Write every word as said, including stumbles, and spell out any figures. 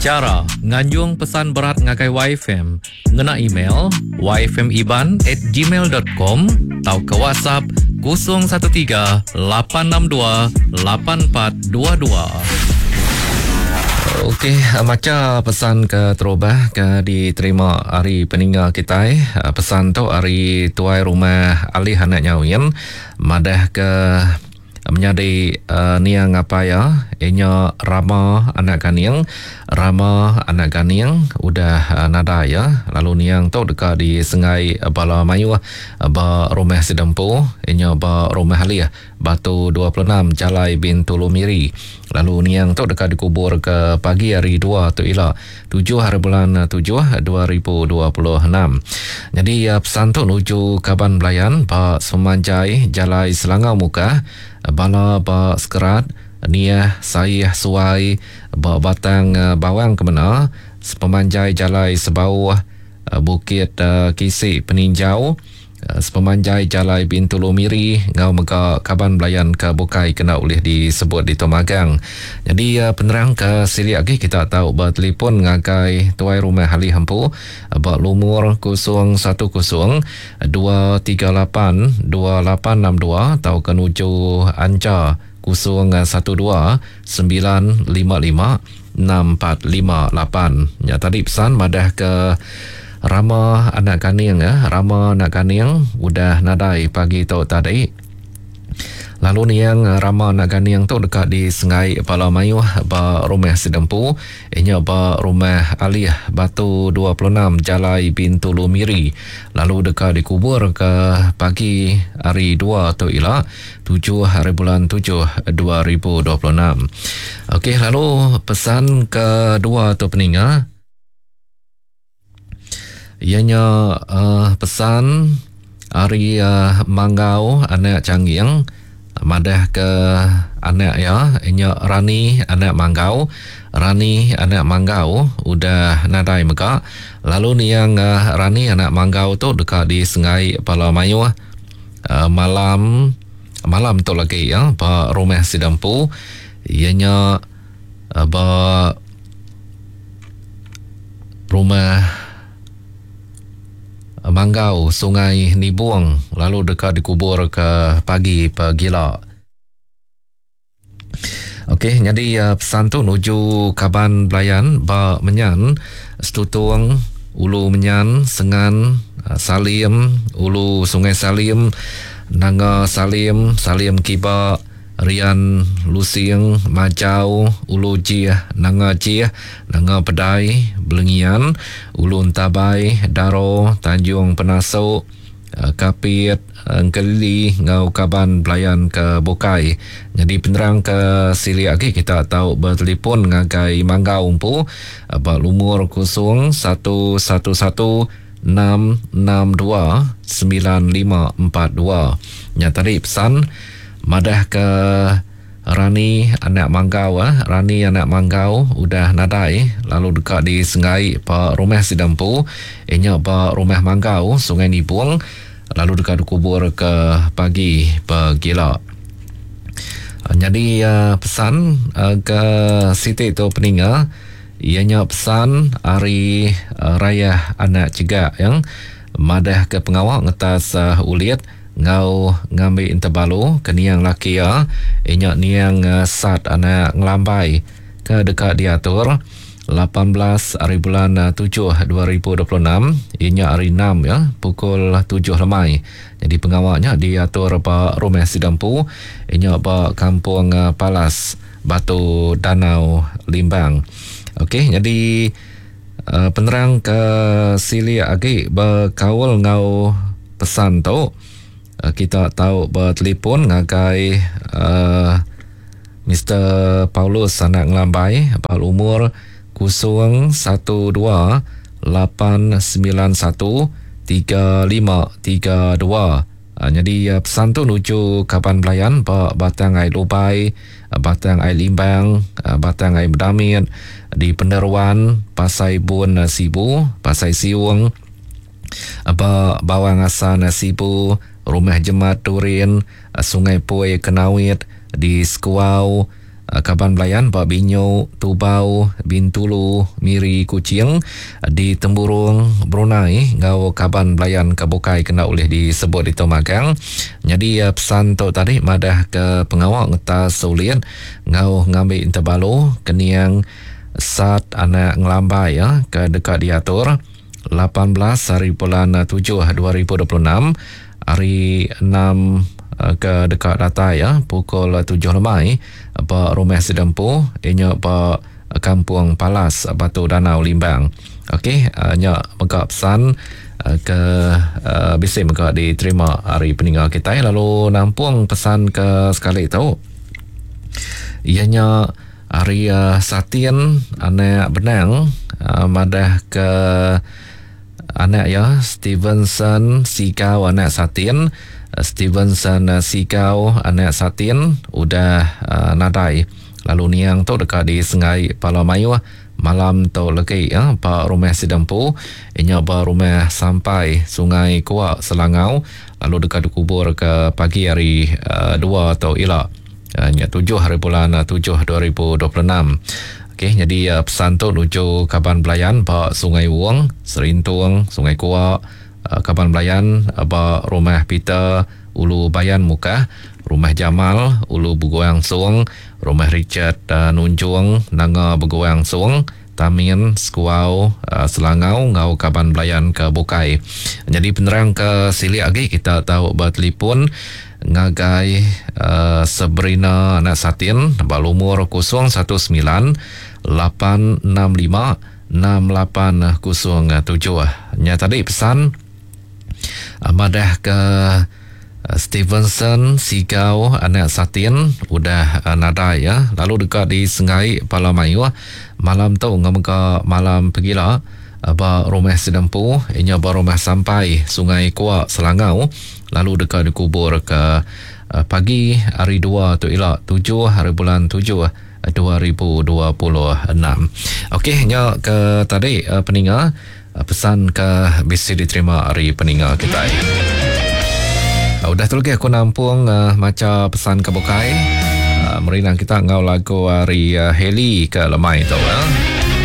Chara nganjung pesan berat ngagai Y F M ngena email y f m iban at gmail dot com atau ke WhatsApp kosong satu tiga lapan enam dua lapan empat dua dua. Okey, maca pesan ke terubah ke diterima hari peninga kita. Pesan tu hari tuai rumah Alih Anak Nyawin madah ke menjadi uh, niang apa ya inya Rama Anak Ganing. Rama Anak Ganing udah uh, nada ya, lalu niang tu dekat di Sengai Bala Mayuh ba rumah Sidempu inya ba rumah Alih Batu dua puluh enam Jalai Bintulu Miri. Lalu niang tu dekat dikubur ke pagi hari dua tu ila tujuh hari bulan tujuh dua ribu dua puluh enam. Jadi uh, pesan tu nuju kaban belayan ba Semanjai Jalai Selangau Mukah, bala ba Sekerat, Niah Sayah Suai ba Batang Bawang Kemena, sepemanjai Jalai Sebauh Bukit Kisik Peninjau, sepemanjai Jalai Bintulu Miri ngau mega kaban belayan ke bukai kena ulih disebut di Tomagang. Jadi penerang ke silik lagi kita tahu bertelefon ngagai tuai rumah Ali Hempu ba lumur kosong satu kosong dua tiga lapan dua lapan enam dua atau ke nuju Anca kosong satu dua sembilan lima lima enam empat lima lapan. Ya tadi pesan madah ke Rama Anak Ganing ya, Rama Anak Ganing udah nadai pagi tu tadi. Lalu niang Rama Anak Ganing tu dekat di Sengai Bala Mayuh ba rumah Sidempu, inya ba rumah Alih Batu dua puluh enam Jalai Bintulu Miri. Lalu dekat dikubur ke pagi hari dua tu ila tujuh hari bulan tujuh dua ribu dua puluh enam. Okey, lalu pesan kedua tu peninga ianya uh, pesan hari uh, Manggau Anak Changging madah ke anak ya inya Rani Anak Manggau. Rani Anak Manggau udah nadai mega. Lalu niang uh, Rani Anak Manggau tu dekat di Sengai Pala Mayuh uh, malam malam tu lagi ya ba rumah Sidempu ianya uh, ba rumah Manggau Sungai Nibung, lalu dekat dikubur ke pagi pegila. Okey, jadi uh, pesan tu nuju kaban belayan ba Menyan, Setutung, Ulu Menyan, Sengan, uh, Salim, Ulu Sungai Salim, Nanga Salim, Salim Kiba, Rian Lusing, Majau, Ulu Jih, Nanga Jih, Nanga Pedai, Belengian, Ulu Entabai, Daro, Tanjung Penasuk, Kapit, Engkelili, ngau kaban belayan ke Bukai. Jadi penerang ke silik lagi kita tahu bertelefon ngagai Manggau Umpu ba lumur kosong satu satu satu enam enam dua sembilan lima empat dua. Nya tadi pesan madah ke Rani Anak Manggau eh. Rani Anak Manggau udah nadai lalu dekat di Sengai pa rumah Sidempu inya ba rumah Manggau Sungai Nibung, lalu dekat dikubur ke pagi pegila. Jadi uh, pesan uh, ke Siti tu peninga ianya pesan hari uh, Raya Anak Cegak yang madah ke pengawak ngetas uh, ulit ngau ngambil interbalu ke niang laki ya inya niang uh, Sat Anak Ngelambai ke dekat diatur lapan belas hari bulan tujuh dua ribu dua puluh enam inya hari enam ya pukul tujuh lemai. Jadi pengawaknya diatur ba rumah Sidempu inya ba kampung uh, Palas Batu Danau Limbang. Okey, jadi uh, penerang ke silik agi berkaul ngau pesan tu kita tahu bertelefon ngagai uh, Mister Paulus Anak Ngelambai bal umur kosong satu dua lapan sembilan satu tiga lima tiga dua. Uh, jadi uh, pesan tu nuju kaban belayan ba Batang Ai Lubai, Batang Ai Limbang, uh, Batang Ai Bedamit, di Peneruan, Pasai Bun uh, Sibu, Pasai Siung, ba Bawang Asan Sibu, Rumah Jemat Turin, Sungai Pui Kenawit, di Sekuau, Kaban belayan ba Binyo, Tubau, Bintulu, Miri, Kuching, di Temburong, Brunei ngau kaban belayan ke bukai kena ulih disebut itu magang. Jadi pesan tu tadi madah ke pengawa ngetas sulit ngau ngambi interbalu keniang Sat anak ngelambai ya ke dekat diatur lapan belas hari bulan tujuh dua ribu dua puluh enam hari enam ke dekat datai ya pukul tujuh lemai ba rumah Sidempu inya ba Kampung Palas Batu Danau Limbang. Okey, nya mega pesan ke bisi mega diterima hari peninggal kita. Lalu nampung pesan ke sekali tu ianya hari Satin anak benang madah ke anak ya Stevenson Sigau anak Satin, Stevenson Sigau anak Satin udah uh, nadai. Lalu niang tu dekat di Sengai Pala Mayuh malam tu legi ya ba rumah Sidempu inya ba rumah sampai Sungai Kuak Selangau, lalu dekat dikubur ke pagi hari uh, dua tu ila uh, nya tujuh hari bulan tujuh dua ribu dua puluh enam. Okey, jadi uh, pesan tu nuju kaban belayan ba Sungai Wong, Serintung, Sungai Kuak, uh, kaban belayan uh, ba rumah Peter Ulu Bayan Mukah, rumah Jamal Ulu Beguang Sung, rumah Richard uh, Nunjung Nanga Beguang Sung, Tamin Sekuau uh, Selangau ngau kaban belayan ke bukai. Jadi penerang ke silik lagi kita tahu bertelefon ngagai uh, Sabrina anak Satin ba lumur kosong satu sembilan lapan enam lima enam lapan kosong tujuh. Nya tadi pesan uh, madah ke Stevenson Sigau anak Satin udah uh, nadai ya, lalu dekat di Sengai Pala Mayuh malam tu ngamega malam pegila ba rumah Sidempu inya ba rumah sampai Sungai Kuak Selangau, lalu dekat dikubur ke uh, pagi hari dua tu ila tujuh hari bulan tujuh dua ribu dua puluh enam. Okey, nya ke tadi uh, peninga uh, pesan ke bisi diterima hari peninga kita. Uh, udah tu lagi aku nampung uh, maca pesan ke bukai. Uh, merinang kita ngau lagu hari uh, Heli ke lemai tu. Uh.